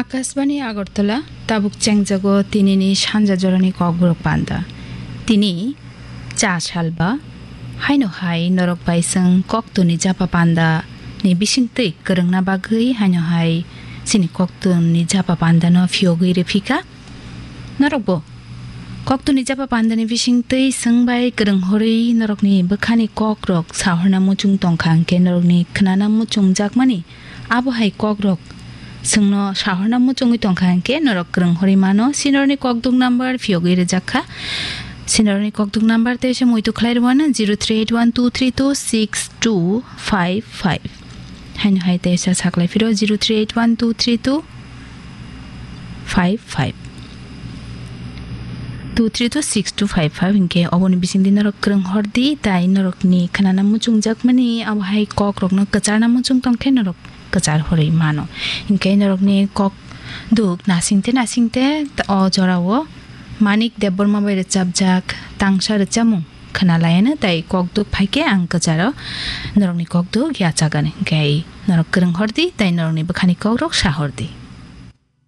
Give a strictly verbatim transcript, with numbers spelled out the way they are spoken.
Akashbani Agartala, tabuk chengjago tinini sanja jorani kokborok panda. Tini cha salba, haino hai norok bai chwng koktwni japa panda ni bisingtwi kwrwngna bagwi haino hai chini koktwni japa panda no phiyogwi rwphika. Norokbo koktwni japa pandani bisingtwi chwng bai kwrwng horwi norokni bwkhani kokrok sahorna muchung tongkha, hwnkhe norokni khwnana muchung jakmani abo hai kokrok chwngno sahorna muchungwi tongkha, hwnkhe norok kwrwng horwi mano. Sinorni kokduk number phiyogwi rwjakha. Sinorni kokduk number tei se muitu khlai rwmano zero three eight one two three two six two five five. Haino hai tei sa saklai phiro zero three eight one two three two five five. Two three two six two five five, hinkhe oboni bisingdi norok kwrwng hordi, tai norokni khwnana muchungjakmani abo hai kokrokno kwcharna muchung tongkhe norok kwchar horwi mano. Hinkhe norokni kok duk nasingte nasingte o jorao Manik Debbarma bai rwchapjak tangsa rwchapmung khwnalaiano, tai kok duk phaikhe ang kwcharo norokni kok duk yachagani. Hinkhe norok kwrwng hordi, tai norokni bwkhani kokrok sa hordi.